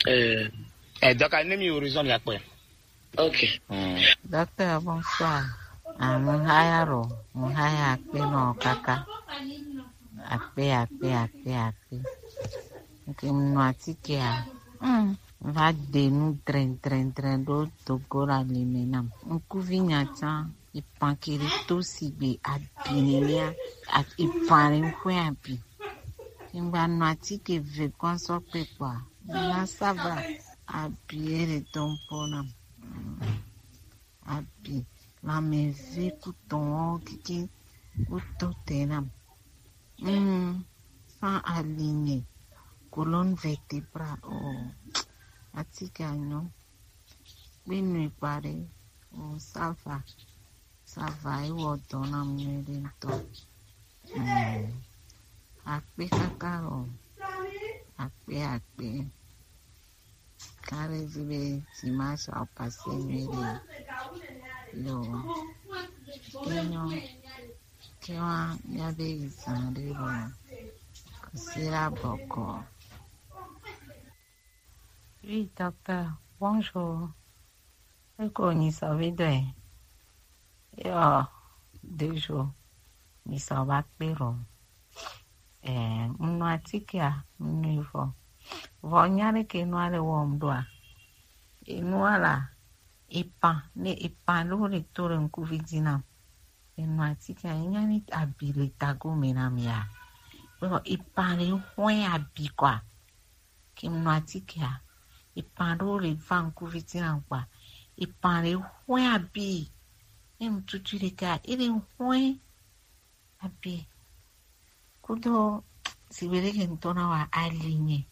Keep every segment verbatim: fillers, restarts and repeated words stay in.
Eh, eh, donc, ne mi horizon mi akpɔe. Ok. Hmm. Docteur, bonsoir. Ah, mo haya ro, mo haya akpe no kaka. Akpe, akpe, akpe, akpe. Ok, mo no atike a. Hmm. Va de nu dren, dren, dren do dogo la lime nam. Nkuvi nya tsan, ipan kiri to sigbe abi nenia, ipan re nkwe abi. Ngba no atike ve kwan sɔ kpe kpɔa, na ça va, abi ere tɔn po nam. Mm. Abi, lanmeve ku tɔn ɔ kiki ku to te nam. Mm. Sans aligner, colonne vertébrale, oh. Atike a nyɔ. Kpe nui kpaɖe, oh, ça va. Ça va, ewɔ dɔ na mi nyuiɖe ŋutɔ. Mm. Akpe kaka o. Akpe, akpe. Kare vi be dimanche a passé nyuiɖe. Yo. Enyo. Ke wa míabe yi zã ɖe lo. Kɔsiɖa bɔkɔ. Oui, docteur, bonjour. Eko nyi sɔ vi dɔe. Yo, deux jours. Mi sɔ va kpe ro. Eh, mnu atike a, mnu vɔ. Vɔ nya ɖe ke nua le wɔm ɖoa. Enua la, epan, ne epan ɖo le to le ŋkuvi dzi nam. Enu atike a, enya ni abi le tago me na mi a. Vɔ epan le hɔe abi kɔa. Ke mnu atike a, epan ɖewo le va ŋkuvi dzi nam kpa. Epan ɖe hɔe abi. Ne ŋtutu ɖeka, ele hɔe abi. Kudo sigbe ɖe ke ŋutɔ na wa ali nye,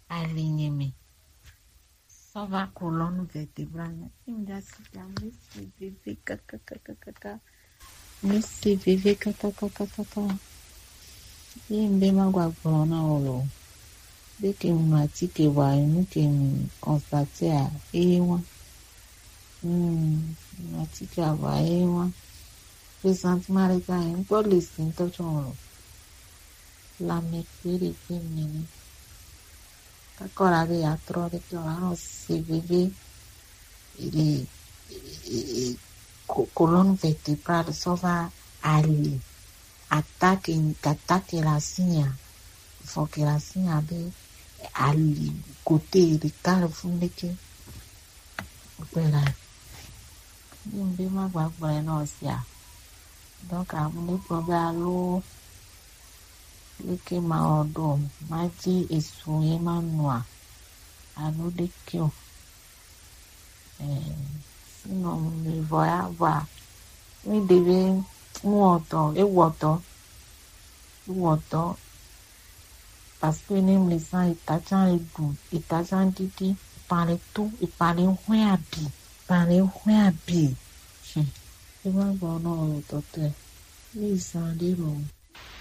ali nye me. Ça va, colonne vertébrale. Une dasi, mi se veve kakakakaka. Mi se veve kakakakaka. Ye mbe ma gba gblɔ na wo lo. Be ke mu atike wa, enu ke mu constate a, eye wa. Hmm, mu atike a wa, eye wa. Presentiment ɖe ka, ŋkpɔ le si ŋutɔ tsɔ lo. Lanmɛ kpe ɖe kpe mi ni. Kakɔ la be ya trɔ ɖe ke o, anɔ se veve. Ele, e, e, e, ko-, colonne vertébrale sɔ va ali. Attaque, attaque la signe. Vɔ ke la signe be ali côté ɖeka le funu ɖeke. Voilà. Ni ŋbe ma gba gblɔe nɔ sia. Donc, amu ne kpɔ be alo leke ma wɔ ɖo, ma dzi esu ye ma nua, alo ɖeke o. Eh, sinon, mi vɔ ya vɔa, mi ɖe be nuwɔtɔ, ewɔtɔ, ewɔtɔ, parce que ne mi zã eta tsã eɖu, eta tsã ɖiɖi, epan le to, epan le hɔe abi, epan le hɔe abi. Hmm. E ma gbɔ nɔ o tɔtɔe. Mi zã ɖe lo.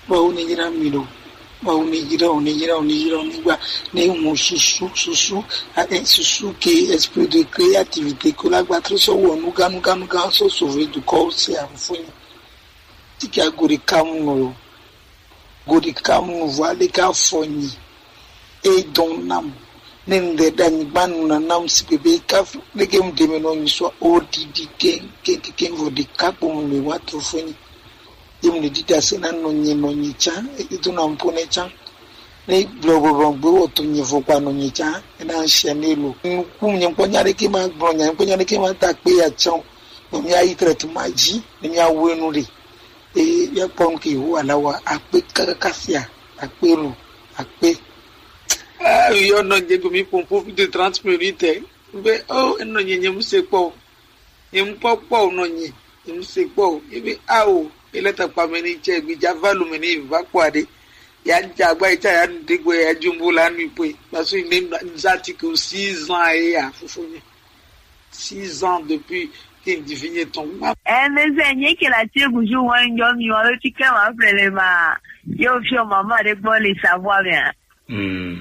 Mawu ne yra mi ɖo. Mawu ne yra o, ne yra o, ne yra o, ne gba, ne ŋu susu, susu, a, e, susu ke esprit de créativité ko la gba trɔ sɔ wɔ nuga, nuga, nuga sɔ sauver dukɔ se afunyi. Tike a go ɖeka mu nɔ lo. Go ɖeka mu nɔ vɔ ale ka fɔ nyi. E dɔn nam. Ne ŋde ɖe anyigba nu na nam si bebe ka leke mu deme nɔ nyi sɔ o ɖiɖi ke, ke, ke, ke vɔ ɖeka kpo mu le wa to fɔ nyi. Ye mu le ɖiɖi ase na nɔ nyi, nɔ nyi tsã, e do na mu po ne tsã. Ne gblɔ bɔbɔ gbe wɔ to nyi vɔ gba nɔ nyi tsã, e na ŋshɛ ne lo. Nuku mu nye kpɔ nya ɖeke ma gblɔ, nya kpɔ nya ɖeke ma ta kpe ya tsã o. Nɔ mi ayi traitement dzi, ne mi awu enu ɖe. Eye míakpɔ nu ke Yehowa la wa akpe kakaka sia, akpe lo, akpe. Ah, yɔ nɔ nye gomi pompo plus de trente minutes. Be, oh, enɔ nye nye mu se kpɔ o. Nye mu kpɔ kpɔ o nɔ nye, nye mu se kpɔ o. Ebe, ah, o, ele takpa me ni tse, gbe dza va lo me ni va kpɔ aɖe. Ya dza agba yi tsa ya nu ɖe gbe ya dzumbo la nu ipoe. Parce que ne nous articles six ans et ya fofo nye. Six ans depuis que Divine est tombée. Eh, mais c'est rien que la tue, bonjour, moi, un homme, il m'a fait que ma frère, ma, yo, fier maman, de bon, les savoir bien. Hmm.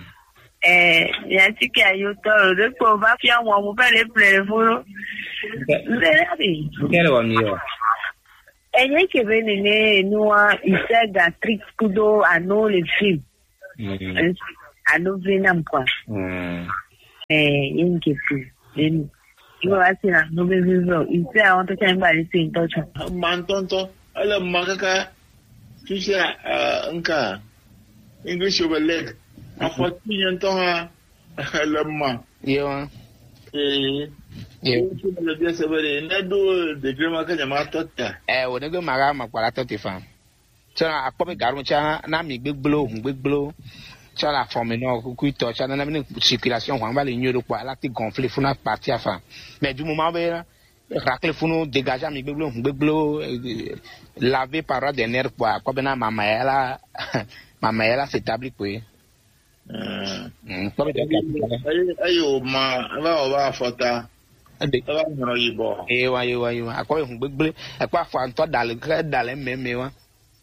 Eh, il y a un truc qui a eu tort, de quoi on va faire, moi, mon père, les pleurs, vous. Vous allez aller. Quel est le mieux? Eh, rien que venez, nous, il sert d'Afrique, Kudo, à nous, les filles. Hmm. Eh, à nous, venez, quoi. Hmm. Eh, ye nke tu. Then, you are seeing no baby bro. You say I want to change by the same touch. Ma ŋutɔŋutɔ, ele ma kaka fifia, eh, nka English over leg. Afɔti nye ŋutɔ hã, ele ma. Yewa. Eh, Yewa. Ye tu le bia se be ɖe, ne ɖo degré ma ke nyama tɔ ta. Eh, wo ne gbe ma ga ma kpala tɔ te fa. Tsɔ akpɔ be gaɖo tsã na mi gbegblẽwo, hũ gbegblẽwo. Tsɔ le afɔ me nɔ kukuitɔ tsã nana mi ne circulation hwan va le nyuie ɖo kpɔ ala ti gonfler funa partie afa. Mais du moment be rakle funu dégager mi gbegblẽwo, hũ gbegblẽwo, eh, laver par des nerfs kpɔ akpɔ be na mama ya la, mama ya la s'établir kpɔ ye. Mm. Mm, kpɔ be dɔ ka. Eyi, eyi o ma, eva o va afɔta. Ede. Eva nyɔ yibɔ. Ewa, ewa, ewa. Akpɔ be hũ gbegblẽ, akpɔ afɔ ŋutɔ da le, da le meme wa.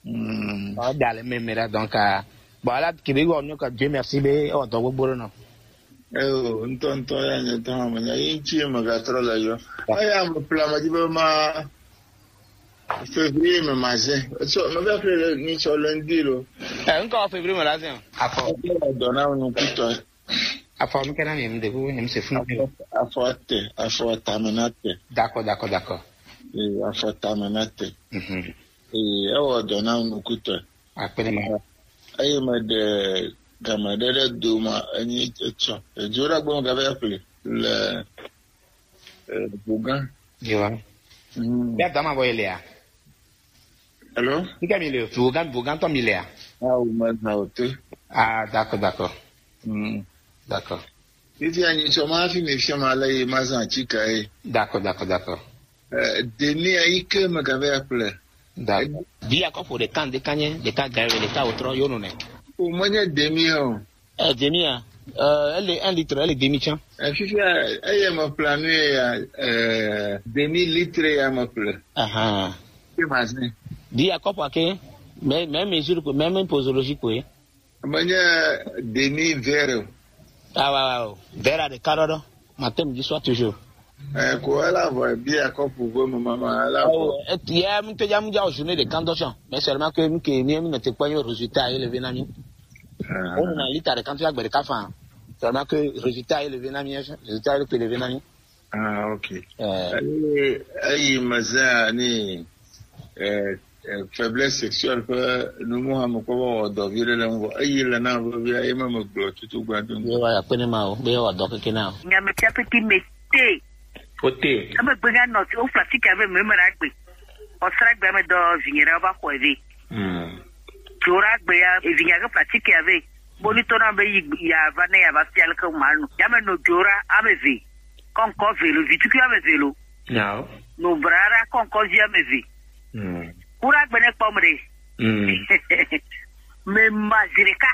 Mm. Ɔ, da le meme ɖa, donc, ah, bon, ala, ke be wɔ nu ka, Dieu merci be, ɔ, dɔ gbogbo ɖe nɔ. Eyo, ŋutɔ, ŋutɔ, ya nye tɔ, me nya, yi ŋuti me ga trɔ le yɔ. Eya me ƒle ame dzi be ma, février me ma zẽ. So, me va ƒle le, ni sɔ lundi lo. Eh, ŋkɔ février me la zẽ. Afɔ. Dɔ na nu kutɔ. Afɔ, mi ke na mi, mi de, mi se funu. Afɔ, afɔ te, afɔ tame na te. D'accord, d'accord, d'accord. Eh, afɔ tame na te. Mhm. Ee, ewɔ dɔ na ŋkutɔe. Akpe ɖe ma. Eye meɖe game ɖe ɖe do ma, enyi etsɔ. Edzo ɖe agbe me gava ƒle le, eh, Vogan. Yewa. Mm. Ya dama bɔ ilea? Hello? Nika mi le Vogan, Vogan tɔ mi lea? Ah, o ma na o te. Ah, d'accord, d'accord. Mm. D'accord. Fifia nyitsɔ ma hafi mi fia ma le yi ma zã atsika ye. D'accord, d'accord, d'accord. Eh, demi ayi ke me gava ya ƒle. D'accord. Bia kɔpo ɖeka ŋdeka nye, ɖeka gã eve, ɖeka wòtrɔ, yo nɔ nɛ. O menye demi o. Eh, demi a? Eh, ele un litre, ele demi tsã. Eh, fifia, eye me ƒle nu ye ya, eh, demi litre ya me ƒle. Ahan. Ke ma zẽ. Bia kɔpo ake, mais, mais mesure ko, même posologie ko ye. Menye demi verre o. Ah, waaw, waaw. Verre ɖeka ɖɔɖɔ. Matin, midi, soir, toujours. Eh, ko ela vɔ bia kɔpu ve me mama, ela vɔ. Oh, et, ya, mi te ya, mi ja o journée de candochon. Mais seulement que, mi ke, mi, mi ne te kpɔ résultat élevé na mi. Ah. On a lita de candochon, agbe de kafa. Seulement que résultat élevé na mi, résultat élevé na mi. Ah, ok. Eh. Eyi, eyi me zã ni, eh, eh, faiblesse sexuelle ƒe numu hã me kpɔ be wɔ dɔ vi ɖe le ŋgɔ. Eyi le na vevia, ye me me gblɔ tutu gba do. Ye wa ya kpene ma o, be wɔ dɔ keke na o. Nyame tia peti me te. O te. Ame gbe nya nɔ, o fla tike ave me me na gbe. O sra gbe me dɔ vinye ɖe va xɔ eve. Hmm. Dzora gbe ya, evinya ke fla tike ave. Boni tona be yi ya va ne ya va fia le ke ma no. Ya me no dzora ame ve. Kɔnkɔ ve lo, vi tukui ame ve lo. Nyawo. No brara kɔnkɔ vi ame ve. Mm. Kura gbe ne kpɔ me ɖe. Mm. Me ma zi ɖeka.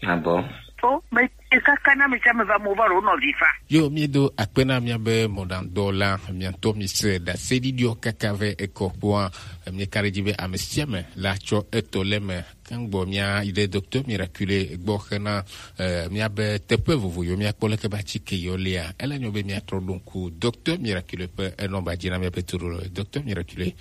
Ah bon? O, me kaka na me sia me va mo va ro no vi fa. Yo, mi do akpe na mia be mɔɖaŋudɔla, mia ŋutɔ mi se ɖaseɖiɖiɔ kaka ve ekɔ kpoa, mi ka ɖe dzi be ame sia ame la tsɔ etɔ le me. Kan gbɔ mia yi ɖe Docteur Miraculé gbɔ hena, eh, mia be teƒe vovo yo mia kpɔ leke ba tsike yo lia. Ele nyo be mia trɔ ɖo ŋku Docteur Miraculé ƒe enɔmba dzi na mia be toɖo le. Docteur Miraculé,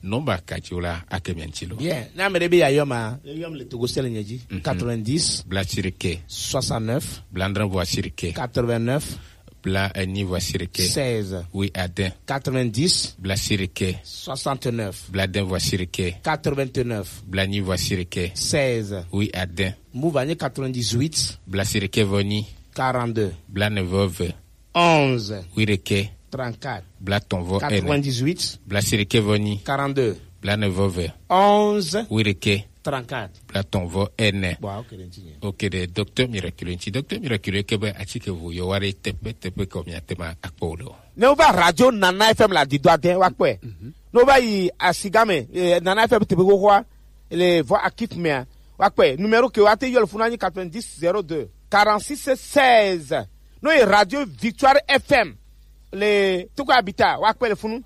nɔmba ka dzi wo la ake mia ŋuti lo. Yeah, na ame ɖe be ya yɔ ma, yɔ le Togo sel nye dzi. Mhm. Quatre-vingt-dix. Bla sirike. Soixante-neuf. Bla andre voix sirike. Quatre-vingt-neuf. Bla enyi voix sirike. Seize. Oui, ade. Quatre-vingt-dix. Bla sirike. Soixante-neuf. Bla de voix sirike. Quatre-vingt-neuf. Bla nyi voix sirike. Seize. Oui, ade. Move anyi quatre-vingt-dix-huit. Bla sirike vɔ nyi. Quarante-deux. Bla ne vɔ ve. Onze. Oui, rike. Trente-quatre. Bla tɔn vɔ ene. Quatre-vingt-dix-huit. Bla sirike vɔ nyi. Quarante-deux. Bla ne vɔ ve. Onze. Oui, rike. Trente-quatre. Bla tɔn vɔ ene. Bon, ok, ɖe ŋuti nye. Ok, ɖe Docteur Miraculé ŋuti. Docteur Miraculé ke be atike vo yɔ wa ɖe teƒe teƒe ke mia te ma akpɔ wo ɖo. Ne wova radio Nana F M la di do ade wa kpɔe. Mhm. Ne wova yi asigame, eh, Nana F M teƒe xoxoa, le vɔ akif mea, wa kpɔe. Numéro ke wa te yɔ le funa nyi quatre-vingt-dix zéro deux quarante-six seize. No yi Radio Victoire F M le Toko Abita, wa kpɔe le funu.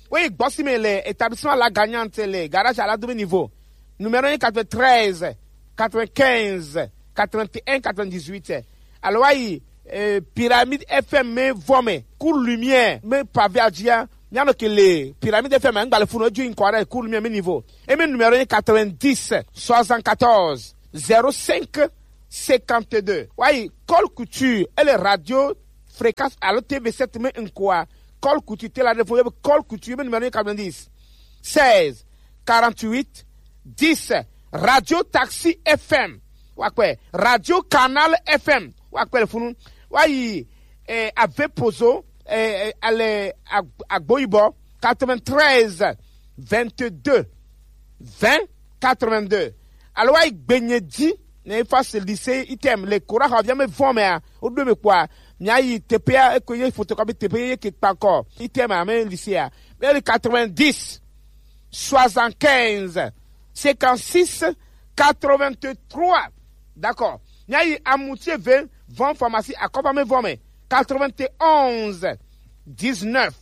Wo yi gbɔsi me le établissement La Gagnante le garage à la demi niveau. Numéro quatre-vingt-treize, quatre-vingt-quinze, quatre-vingt-un, quatre-vingt-dix-huit. Alors, wa yi, euh, Pyramide F M me vɔ me, Cours Lumière, me pavé a dzia. Mia nɔ ke le Pyramide F M, ngba le funu, eju ŋkɔ ɖe Cours Lumière me niveau. Et me numéro quatre-vingt-dix, soixante-quatorze, zéro cinq, cinquante-deux. Wa yi Col Couture, et le radio fréquence alo T V sept me nkoa, call kutu te la de fo, call kutu be numéro quatre-vingt-dix, seize, quarante-huit, dix. Radio Taxi F M, wa kpɛ. Radio Canal F M, wa kpɛ le funu. Wa yi, eh, Ave Pozo, eh, eh, ale ag-, Agboyibɔ, quatre-vingt-treize, vingt-deux, vingt, quatre-vingt-deux. Alo wa yi Gbenye di, ne fa se lycée item le kora ha via me vɔ me a, o do me kwa. Mi ayi tepe a, e ko ye photocopie tepe ye ke pa ko. Item a me lycée a. Me le quatre-vingt-dix, soixante-quinze, cinquante-six, quatre-vingt-trois. D'accord. Mi ayi Amutie ve, vɔ pharmacie, a ko pa me vɔ me. Quatre-vingt-onze, dix-neuf,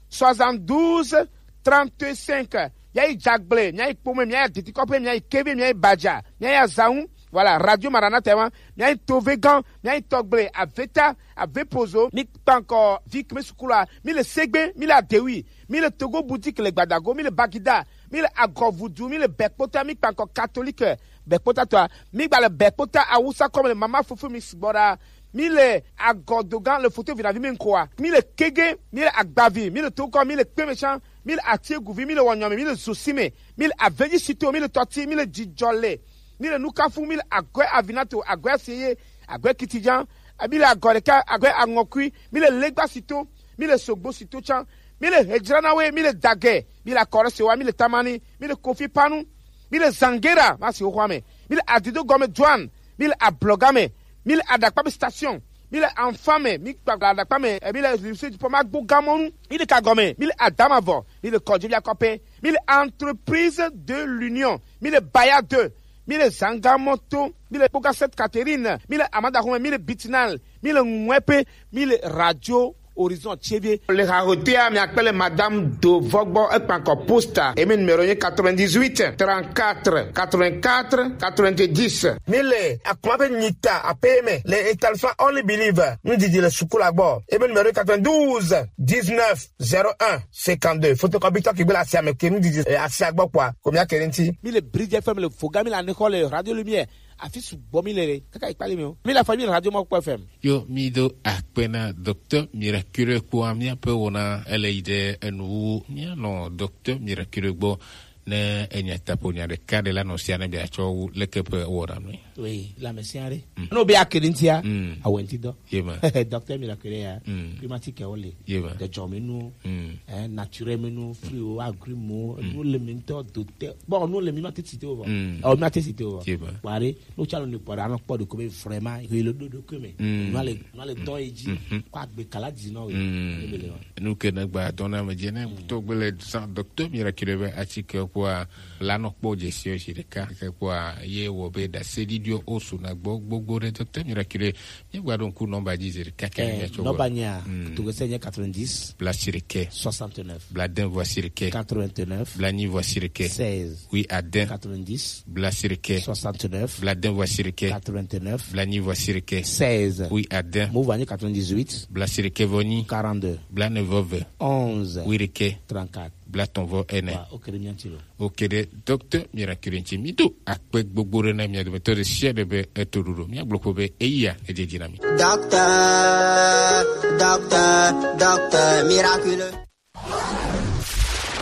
soixante-douze, trente-cinq. Mi ayi Jagble, mi ayi Kpome, mi ayi Ditikɔpe, mi ayi Keve, mi ayi Badja, mi ayi Azaun. Voilà, Radio Maranatha, hein. Mi ayi Tovegan, mi ayi Tɔgble, Aveta, Ave Pozo, mi kpankɔ vi kme sukula, mi le Segbe, mi le Adewi, mi le Togo Boutique le Gbadago, mi le Bagida, mi le Agɔvudu, mi le Bɛkpota, mi kpankɔ Catholique Bɛkpota tɔa, mi gba le Bɛkpota Awusa kɔme le mama fofo mi sigbɔ ɖa, mi le Agɔdogan le foto vinavi mi nkoa, mi le Kege, mi le Agbavi, mi le Tokɔ, mi le Kpemechan, mi le Atieguvi, mi le Wɔnyɔmi, mi le Zosime, mi le Aveji Sito, mi le Tɔti, mi le Jijɔle, mi le Nukafu, mi le Agɔe Avinato, Agɔe Aseye, Agɔe Kitijan, mi le Agɔ ɖeka, Agɔe Aŋɔkui, mi le Legba Sito, mi le Sogbo Sito can, mi le Hejranawe, mi le Dagɛ, mi le Akɔrɔ Sewa, mi le Tamani, mi le Kofi Panu, mi le Zangera, ma si wo xɔa me, mi le Adido Gɔme Joan, mi le Ablɔga me, mi le Aɖakpa be station, mi le Anfa me, mi kpa Aɖakpa me, eh, mi le Lycée du Pont Magbo Gamɔnu, mi le Kagɔme, mi le Adamavɔ, mi le Kɔdzi via kɔpe, mi le Entreprise de l'Union, mi le Baya deux, mi le Zangamoto, mi le Kpoga Sainte Catherine, mi le Amadaxɔme, mi le Bitinal, mi le Ŋuɛpe, mi le Radio Horizon Tsevier. Le hahotea mi akpele Madame Dovɔgbɔ ekpankɔ posta. Emi numéro ye quatre-vingt-dix-huit, trente-quatre, quatre-vingt-quatre, quatre-vingt-dix. Mi le akuma be nyita ape me le établissement Only Believe. Ndidi le sukula gbɔ. Emi numéro quatre-vingt-douze, dix-neuf, zéro un, cinquante-deux. Photocopie tɔ ki gbe le asia me ke ndidi, eh, asia gbɔ kpɔa. Ko mi akere nti. Mi le Bridge F M le Foga, mi le Anexɔ le Radio Lumière. Afi sugbɔ mi le ɖe, kaka yi kpali mi o. Mi le afɔ mi le Radio Mɔkpɔ F M. Yo, mi do akpe na Docteur Miraculeux kpoa, miaƒe wɔna ele yi ɖe enu wu. Mianɔ Docteur Miraculeux gbɔ ne enya tapo nya ɖeka ɖe la nɔ sia ne biatsɔ wu leke ƒe wɔna nui. Oui, la me sia ɖe. Mm. No be akedi ntia, mm, awenti dɔ. Ye ma. Docteur Miraculeux ya. Mm. Climatique wo le. Ye ma. De jɔ mi nu. Mm. Eh, naturel mi nu, fruit wo, agrumes wo, mm, nu le mi ntɔ do te. Bon, nu le mi ma te cité wo. Mm. Oh, mi ma te cité wo. Ye ma. Wari, no chalo ni kpɔ ɖa, no kpɔ ɖo ko be vraiment, he le do do ko me. Mm. No le, no le dɔn edzi. Mm-hmm. Ko agbe kala dzi no. Mm. Ne be le wa. Nu ke ne gba dɔn na me dzi ne, mm, to gbe le san Docteur Miraculeux be atike kpoa, la nɔ kpɔ dzesi o zi ɖeka. Ke kpoa, ye wɔ be da se ɖiɖi o su na gbɔ gbogbo ɖe Docteur Miraculeux. Míegba ɖo ŋku nɔmba dzi zi ɖeka ke. Eh, míatsɔ nɔmba gbɔ. Nyea, mm, to gese nye quatre-vingt-dix, bla siɖeke, soixante-neuf, bla de vɔ siɖeke, quatre-vingt-neuf, bla nyi vɔ siɖeke, seize, oui, ade, quatre-vingt-dix, bla siɖeke, soixante-neuf, bla de vɔ siɖeke, quatre-vingt-neuf, bla nyi vɔ siɖeke, seize, oui, ade. Mo va nye quatre-vingt-dix-huit, bla siɖeke vɔ nyi, quarante-deux, bla ne vɔ ve, onze, oui, ɖeke, trente-quatre. Bla tɔn vɔ ene. Wa, ok, ɖe mía ŋuti lo. Ok, ɖe Docteur Miraculeux ŋuti. Mi do akpe gbogbo ɖe na mia dometɔ ɖe sia ɖe be eto ɖoɖo. Mia gblɔ ko be eya edze dzi na mi. Docteur, docteur, docteur Miraculeux.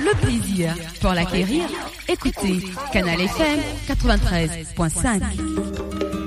Le plaisir pour l'acquérir. Écoutez Canal F M quatre-vingt-treize point cinq.